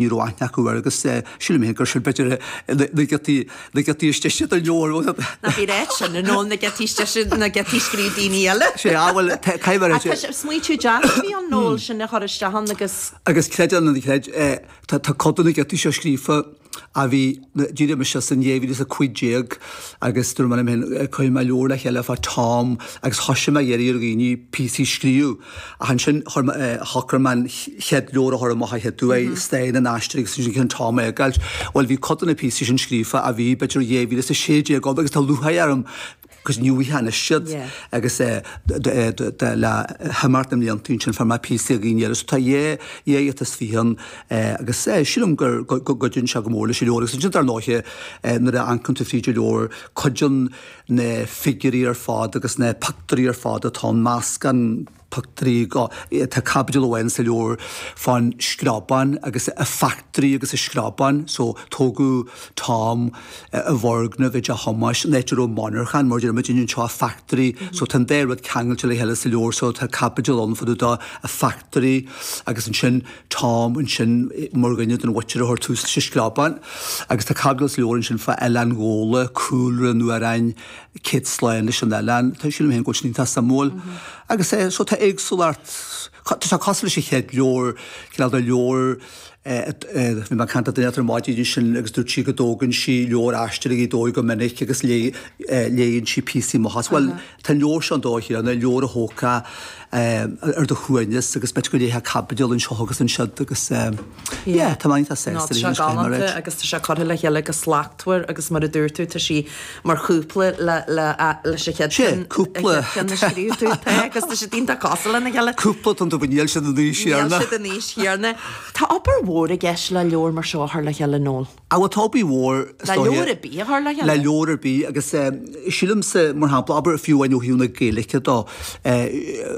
Ní raibh aithne acu air agus sílim féin gur sin b'fhéidir na giotaí, na giotaí is deise den leabhar. Ná bí ráit sin, a Noel, na giotaí is deise, na giotaí a scríobh daoine eile. Sea, bhuel, caithfidh mé a rá. Smaoitiú deas a bhí ann, Noel, sin a chur isteach ann agus. Agus creid é nó ná creid, tá cuid de na giotaí seo scríofa a bhí, d'éirigh mise as in 2015 agus dúirt mé liom féin, cuirfidh mé leabhar le chéile fá Tom agus thoisigh mé ag iarraidh ar dhaoine píosaí a scríobh. Ach ansin chuir mé, shocraigh mé an chéad leabhar a chur amach a chéaduair, Stáin an Aistir agus ansin ceann Tom a fhágáilt. Bhuel bhí cuid de na píosaí sin scríofa a bhí b'fhéidir 2016 ann agus tá lúcháir orm 'cause ní bhfaighfeá anois iad agus le himeacht na mblianta ansin fuair mé píosaí ó dhaoine eile so tá dhá ghiota is fiche ann agus sílim go gcuidíonn sé go mór leis an leabhar agus ansin dar ndóiche nuair a amharcann tú fríd an leabhar cuidíonn na figiúirí ar fad agus na pictiúirí ar fad atá ann, meascán pictiúirí go, tá caibidil amháin sa leabhar fán Screabán agus a factory agus a Screabán so tógadh Tom i bhfoirgneamh i dTeach Thomáis, an áit a raibh monarchan mar a deir muidinne anseo a factory so tá an dá rud ceangailte le chéile sa leabhar so tá caibidil ann fá dtaobh de a factory agus ansin Tom ansin mar dhuine den mhuintir a chuir tús leis an Screabán agus tá caibidil sa leabhar ansin fá Oileán Ghabhla, cúlra an amhráin Céad Slán leis an Oileán. Tá sílim féin go bhfuil sin iontach suimiúil. Agus so tá éagsúlacht, tá sé cosúil leis an chéad leabhar, cineál de leabhar, bhí mé ag caint le duine ar maidin ansin agus dúirt sí go dtógann sí leabhar Aistear i Ngaoth Dobhair go minic agus léann sí píosaí amach as. Bhuel, tá an leabhar seo an dóigh chéanna, leabhar a thógfá ar do shuaimhneas agus b'fhéidir go léifeá caibidil anseo agus ansiúd agus yeah, tá mé iontach sásta leis an scéal mar é. Agus tá sé curtha le chéile go slachtmhar agus mar a dúirt tú tá sí mar chúpla le le leis an chéad ceann cúpla ceann a scríobh tú tá agus tá siad iontach cosúil lena chéile. Cúpla tá tú níl siad an aois chéanna. Níl siad an aois chéanna. Tá obair mhór i gceist le leabhar mar seo a chur le chéile Noel. Á bhuel tá obair mhór is Le dóiche. leabhar ar bith a chur le chéile. Le leabhar ar bith agus sílimse mar shampla, abair fiú amháin ó thaobh na Gaeilge de,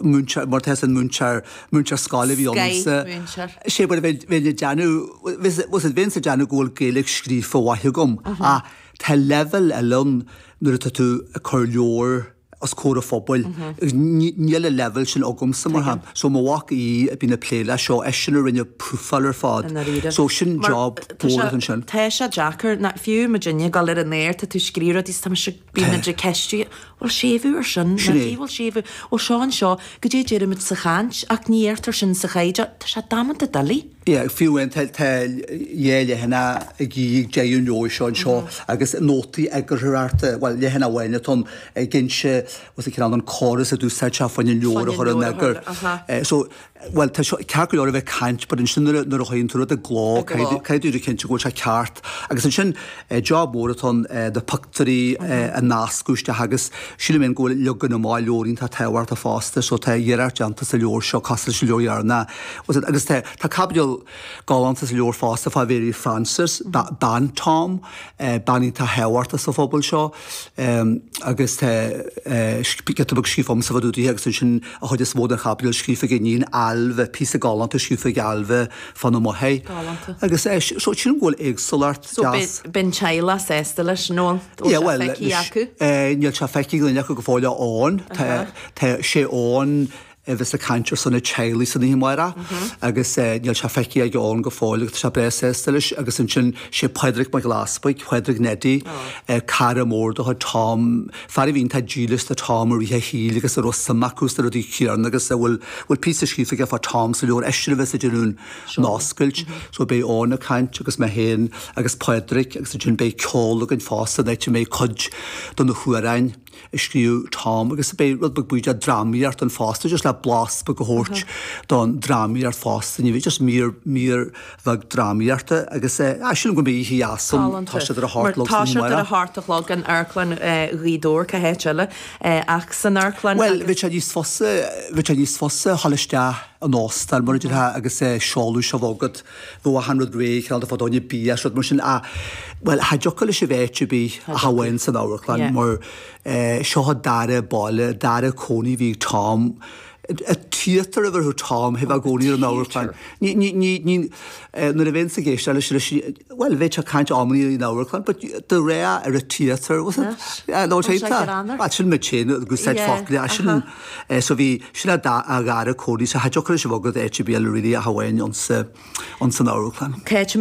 múinteoir, mar tá an múinteoir, múinteoir scoile a bhí ionamsa. Scoith-mhúinteoir. Sé mar a bheinn, bheinn ag déanamh, bheinn ag déanamh go bhfuil Gaeilge scríofa mhaith agam ach tá leibhéal eile ann nuair atá tú ag cur leabhar, os comhair an phobail. Níl an leibhéal sin agamsa, mar shampla. So mo mhac Aodh a bhíonn ag plé leis seo, eisean a rinne prúfáil ar fad. So sin job mór ansin. Tá sé deacair, fiú muidinne ag dul ar an aer, tá tú ag scríobh rudaí is tá mise, bíonn muid ag ceistiú, bhfuil séimhiú ar sin? Sin é. Bhfuil séimhiú? Bhfuil seo anseo? Goidé a deirimid sa chaint ach ní dheirtear sin sa chaighdeán. Tá sé damanta doiligh. Yeah, fiú amháin tá dhá leathanach ag ag deireadh an leabhair seo anseo agus nótaí eagarthóireachta, bhuel leathanach amháin atá ann ag inse what's it called an córas a d'úsáid sé fá choinne an leabhar a chur in eagar. So, bhuel tá seo ceart go leor a bheith ag caint but ansin nuair a nuair a chuireann tú rud i gcló caithfidh tú cinnte go bhfuil sé ceart agus ansin job mór atá ann na pictiúirí a nascadh isteach agus sílim féin go bhfuil leagan amach leabhair iontach tábhachtach fosta so tá iarracht déanta sa leabhar seo cosúil leis an leabhar dheireanach Agus tá tá caibidil galánta sa leabhar fosta fá Mhary Frances, bean Tom, bean iontach thábhachtach sa phobal seo agus tá giota beag scríofa agamsa fá dtaobh di agus ansin an chuid is mó den chaibidil scríofa ag a iníon Ailbhe, píosa galánta scríofa ag Ailbhe fána máthair. Galánta. Agus so sílim go bhfuil éagsúlacht So deas. beidh an teaghlach sásta leis, Noel? Bhfuil sé feicthe acu? Níl sé feicthe ag duine acu go fóill Eoin. Tá tá sé Eoin a bheas ag caint ar son an teaghlaigh san oíche amárach agus níl sé feicthe ag Eoin go fóill agus tá sé breá sásta leis agus ansin sé Pádraig Mac Giolla Easpaig, Pádraig Neidí, cara mór de chuid Tom, fear a bhí iontach dílis do Tom i rith a shaoil agus a raibh suim acu sna rudaí céanna agus a bhfuil bhfuil píosa scríofa aige fá Tom sa leabhar, eisean a bheas ag déanamh an oscailt. So beidh Eoin ag caint agus mé féin agus Pádraig agus ansin beidh ceol againn fosta an áit a mbeidh cuid de na hamhráin. a scríobh Tom agus beidh rud beag bídeach drámaíocht ann fosta just le blas beag a thabhairt don drámaíocht fosta ní bheidh just mír mír bheag drámaíochta agus eh sílim go mbeidh oíche dheas ann tá siad ar a hocht a chlog Tá siad ar a hocht a chlog in Amharclann Ghaoth Dobhair cá háit eile ach san amharclann Bhuel bheadh sé níos fusa bheadh sé níos fusa a dhul isteach in óstán mar a déarfá agus seoladh seo bheith agat Bheadh achan rud réidh, cineál de fá choinne bia is rud mar sin ach, bhuel, cha dtiocfadh leis a bheith áit ar bith ach amháin san amharclann mar seo an dara baile, dara cónaí a bhí ag Tom. A theatre a bheir Tom thaobh a gcónaí ar an amharclann. Ní, ní, ní, ní, nuair a bheinn ag éisteacht leis, leis, bhuel, bheadh sé ag caint amannaí ar an amharclann, but de réir ar a theatre, was it? Yeah, no, sé tá. Sin muid féin ag úsáid focla, sin, so bhí, sin a dá, a dhara cónaí, so cha dtiocfadh leis a bhogadh áit ar bith eile really ach amháin ionsa, ionsan amharclann. Cá háit a.